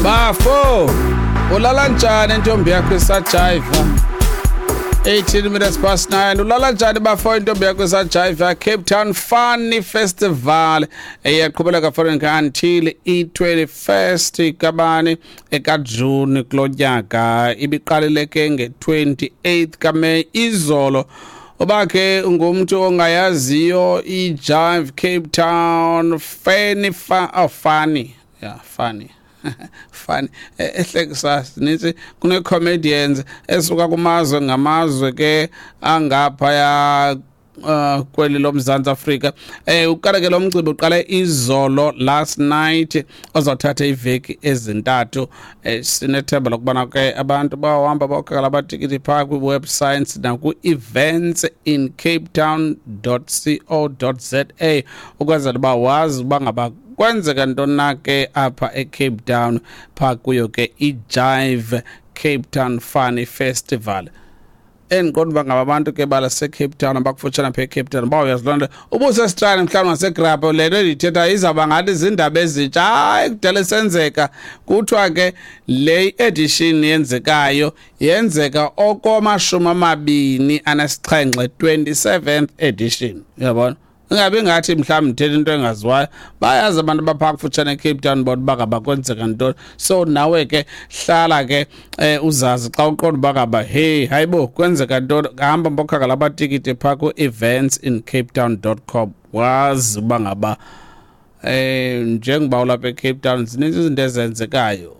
Bafo, ulala njani intombi yakho isajiva? 18 minutes past 9. Ulala njani bafo intombi yakho isajiva? Cape Town Funny Festival eyaqhubeleka for until i-21st kabani ekaJuni kulo nyaka. Ibiqalile ke nge-28 kaMeyi izolo. Uba ke ungumntu ongayaziyo i-Jive Cape Town Funny oh, funny. Yeah, funny. Funny. Ehlekisa sinintsi kune-comedians esuka kumazwe ngamazwe ke angaphaya kweli loMzantsi Afrika. Uqala ke lo mcimbi uqale izolo last night, ozawuthatha iveki ezintathu. Sinethemba lokubana ke abantu bawuhamba bawukhangela amatikiti phaa kwi-websites naku-events in Cape Town co za ukwenzela uba wazi uba ngaba kwenzeka ntoni na ke apha eCape Town phaa kuyo ke iJive Cape Town Funny Festival. Endiqonda uba ngaba abantu ke balaseCape Town abakufutshane apha eCape Town bawuyazi loo nto. Ubusesitrani mhlawumbi ngaseGrabho, le nto endiyithethayo izawuba ngathi ziindaba ezintsha. Hayi, kudala isenzeka. Kuthiwa ke le edition yenzekayo yenzeka okomashumi amabini anesixhenxe, 27th edition, uyabona. Ingabi ngathi mhlawumbi ndithetha into engaziwayo, bayazi abantu abaphaa kufutshane eCape Town bona uba ngaba kwenzeka ntoni. So nawe ke hlala ke uzazi xa uqonda uba ngaba hey, hayibo, kwenzeka ntoni, hamba mbokhangela amatikiti phaa ku-events in Cape Town com, wazi uba ngaba njengoba ulapha eCape Town zininzi izinto ezenzekayo.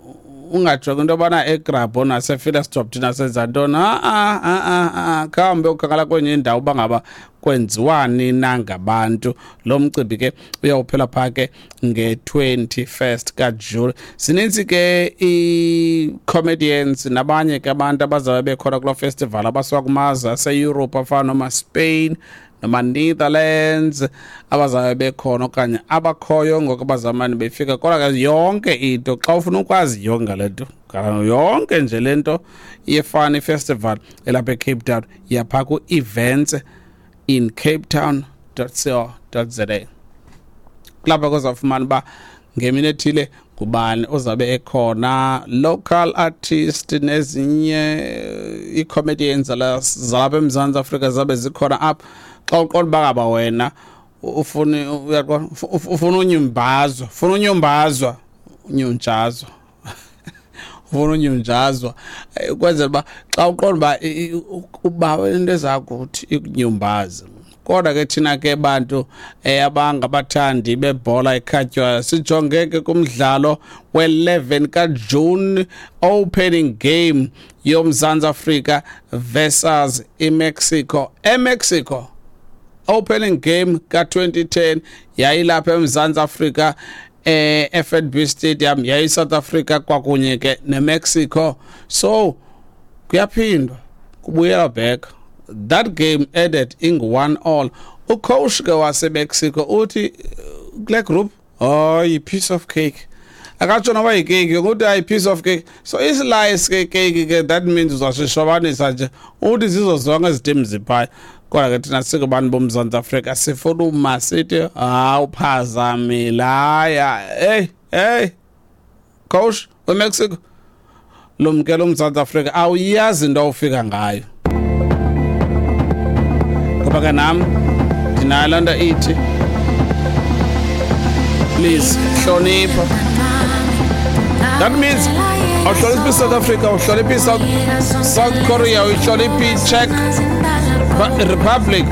Ungajongi into yobana eGrabho naseVilliersdorp thina senza ntoni. A-a, a-a, khambe ukhangela kwenye indawo uba ngaba kwenziwani na ngabantu. Lo mcimbi ke uyawuphela phaa ke nge-21st kaJuli. Zininzi ke ii-comedians nabanye ke abantu abazabe bekhona kuloo festival abasuka kumazwe aseEurope afana noma Spain noma Netherlands abazabe bekhona okanye abakhoyo ngoku abazamane befika. Kodwa ke yonke into, xa ufuna ukwazi yonke le nto, yonke nje le nto ye-Funny Festival elapha eCape Town, yapha ku-events in Cape Town co za, kulapha kuzawufumana uba ngemini ethile ngubani ozabe ekhona, local artist nezinye ii-comedians zalapha eMzantsi Afrika zabe zikhona apha. Xa uqonda uba ngaba wena ufuna, uyaqonda, ufuna unyumbazwa, ufuna unyumbazwa, unyunjazwa, ufuna unyunjazwa, ukwenzela uba xa uqonda uba uba into ezakuthi ikunyumbaze. Kodwa ke thina ke bantu abangabathandi bebhola ekhatywayo sijonge ke kumdlalo we-11 kaJune, opening game yoMzantsi Afrika versus iMexico eMexico. Opening game ka-2010 yayilapha eMzantsi Afrika e-FNB Stadium, yayi South Africa kwakunye ke neMexico. So kuyaphindwa kubuyela back, that game ended ingu-1-all. Ucoach ke waseMexico uthi kule group, hayi, piece of cake. Akatsho noba yikeyiki, ukuthi hayi, piece of cake. So islice ke cake ke, that means uzasishobanisa nje, uthi zizo zonke ezi team ziphaya. Kodwa ke thina singabantu boMzantsi Afrika sifuna uma sithi hawu, phazamile, haya, hey, hey, coach weMexico, lumkela uMzantsi Afrika, awuyazi into awufika ngayo. Ngoba ke nam ndinayo loo nto ithi please hlonipha. That means awuhloniphi South Africa, awuhloniphi South Korea, uyihloniphi Czech Republic.